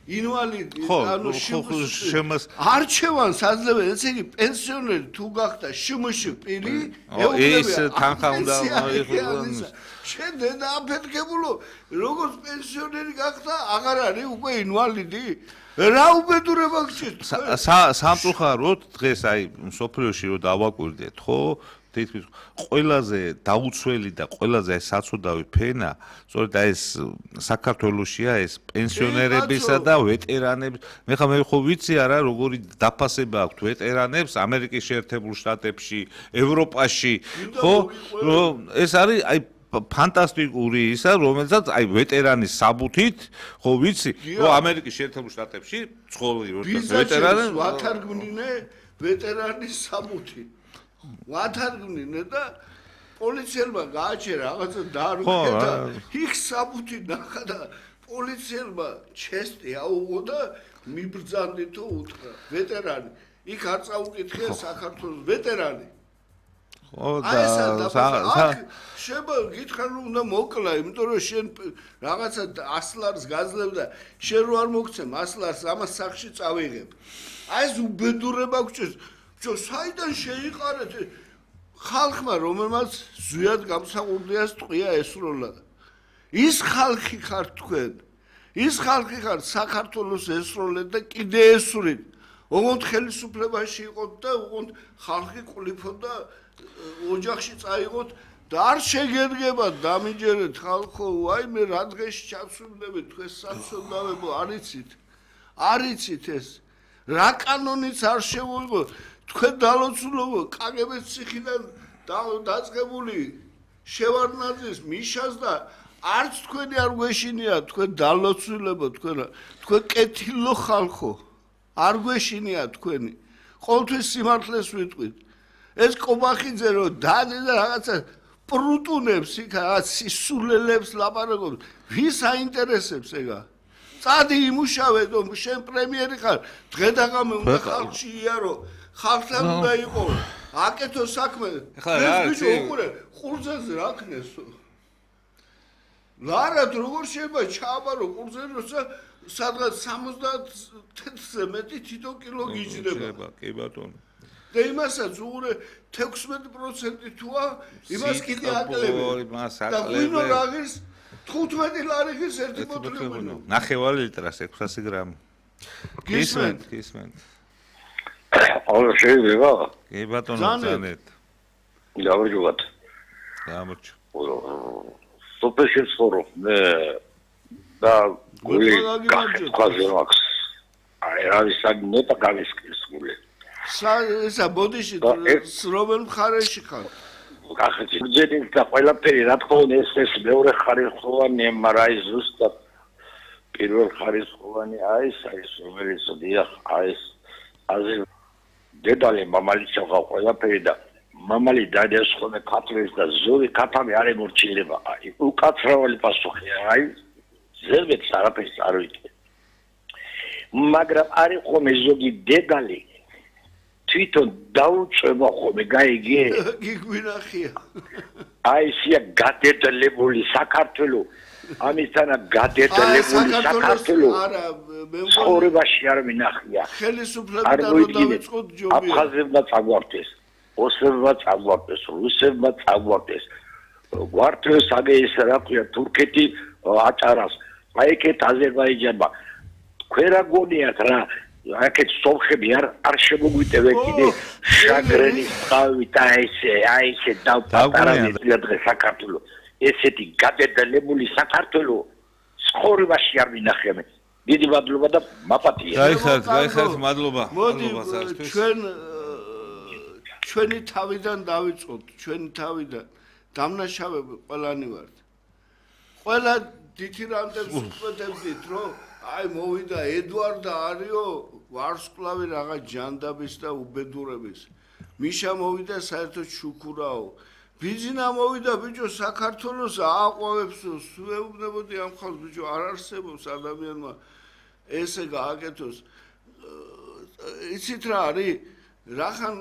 ინვალიდი, ანუ არჩევანს აძლევენ, ესე იგი პენსიონერი თუ გახდა შმშ პირი, ეს თანხა უნდა იყოს. შენ დედა აფეთქებულო, როგორც პენსიონერი გახდა, აღარ არის უკვე ინვალიდი? რა უბედურება გჭირთ? სამწუხაროდ დღეს აი სოფლიოში რო დავაკვირდეთ, ხო? თითქმის ყველაზე დაუცველი და ყველაზე საცოდავი ფენა, სწორედ აი ეს საქართველოშია ეს პენსიონერებისა და ვეტერანების. მე ხო ვიცი არა, როგორი დაფასება აქვთ ვეტერანებს ამერიკის შეერთებულ შტატებში, ევროპაში, ხო? რომ ეს არის აი ფანტასტიკური ისა, რომელსაც აი ვეტერანის საბუთით, ხო ვიცი, რომ ამერიკის შეერთებულ შტატებში ცხოვრობენ ვეტერანები, ვათარგმნინე ვეტერანის საბუთით. ვათარგმნინე და პოლიციელმა გააჩერა რაღაცა დაარღვია და იქ საბუთი ნახა და პოლიციელმა ჩესტი აუღო და მიბრძანდითო უთხრა ვეტერანი. იქ არ წაუკითხე საქართველოს ვეტერანი. შეება გითხრა რომ უნდა მოკლა, იმიტომ რომ შენ რაღაცა 100 ლარს გაძლევ და შენ რო არ მოგცემ 100 ლარს ამას სახში წავიღებ. აი ეს უბედურება გჭირს. საიდან შეიყარეთ ხალხმა, რომელმაც ზვიად გამსახურდიას ტყვია ესროლა. ის ხალხი ხართ თქვენ. ის ხალხი ხართ საქართველოს ესროლეთ და კიდე ესვრით. ოღონდ ხელისუფლებაში იყოთ და ოღონდ ხალხი ყლიფოთ და ოჯახში წაიღოთ და არ შეგერგებათ დამიჯერეთ ხალხო, აი მე რა დღეში ჩავსვიმდებით თქვენ საცოდავებო, არიცით ეს. რა კანონიც არ შევიღო თქვენ დალოცულობო კაგების ციხიდან დაწყებული შევარდნაძის მიშას და არც თქვენი არ გვეშინია თქვენ დალოცულებო თქვენ კეთილო ხალხო არ გვეშინია თქვენი ყოველთვის სიმართლეს ვიტყვით ეს კობახიძე რო დადი და რაღაცა პრუტუნებს იქ რაღაც სისულელებს ლაპარაკობს ვის აინტერესებს ეგა წადი იმუშავე რომ შენ პრემიერი ხარ დღედაღამე უნდა ხალხში იარო ხალხთან უნდა იყო აკეთო საქმე ეს ბიჭო უყურე ყურძენზე რა ქნესო ლარად როგორ შეიძლება ჩააბარო ყურძენი როცა სადღაც 70-ზე მეტი თითო კილო გიჯდება კი ბატონო და იმასაც უყურე 16% თუა იმას კიდე აკლები და ვინო რაღირს 15 ლარი ღირს ერთი ბოთლი ღვინო 9 ლიტრას 600 გრამი გისმენთ აუ შეიძლება კი ბატონო ზანეთ გამარჯობათ გამარჯო სუპერშენ სორო მე და გული კაზე მაქვს აი რა ვისაგ ნოტა გავისკის გული ესა ბოდიში რომელ მხარეში ხარ კახეთი ძედინ და ყველაფერი რა თქმა უნდა ეს მეორე ხარისხოვანი MRI ზუსტად პირველ ხარისხოვანი აი ეს რომელიც დიახ აი ეს აზი დედალი მამალი ჩავყავ ყველაფერი და მამალი დადეს ხოლმე ქათლის და ზური ქათამი არ ემორჩილება აი უკაცრავალი პასუხია აი ზერბეთ არაფერს არ ვიცი მაგრამ არის ხოლმე ზოგი დედალი თვითონ დაუწება ხოლმე გაიგე გიგვინახია აი სია გადედლებული საქართველოს ამისთანა გადედლებული საქართველოს არა მე ცხოვრებაში არ მინახია ხელისუფლებიდან რომ დავიწყოთ ჯობია აფხაზებმა წაგვარდეს ოსებმა წაგვარდეს რუსებმა წაგვარდეს გვარტეს აგე ის რა ქვია თურქეთი აჭარას აი ეგეთ აზერბაიჯანმა ქვერა გონიათ რა აქეთ სომხები არ შემოგვიტევენ კიდე შაგრენის თავი და ესე დავპატარავენ დღეს საქართველოს ესეთი გადედლებული საქართველოს ცხოვრებაში არ მინახია მე დიდი მადლობა და მაპატია გაიხარეთ მადლობა ზარისთვის ჩვენი თავიდან დავიწყოთ ჩვენი თავიდან დამნაშავები ყველანი ვართ ყველა დითირანტებს უწოდებდით რომ აი მოვიდა ედვარდა არიო ვარსკვლავი რაღაც ჯანდაბის და უბედურების მიშა მოვიდა საერთოდ შუქურაო ბიძინა მოვიდა ბიჭო საქართველოს ააყვავებს სუეუბნებოდი ამ ხალხს ბიჭო არ არსებობს ადამიანმა ესე გააკეთოს იცით რა არის რახან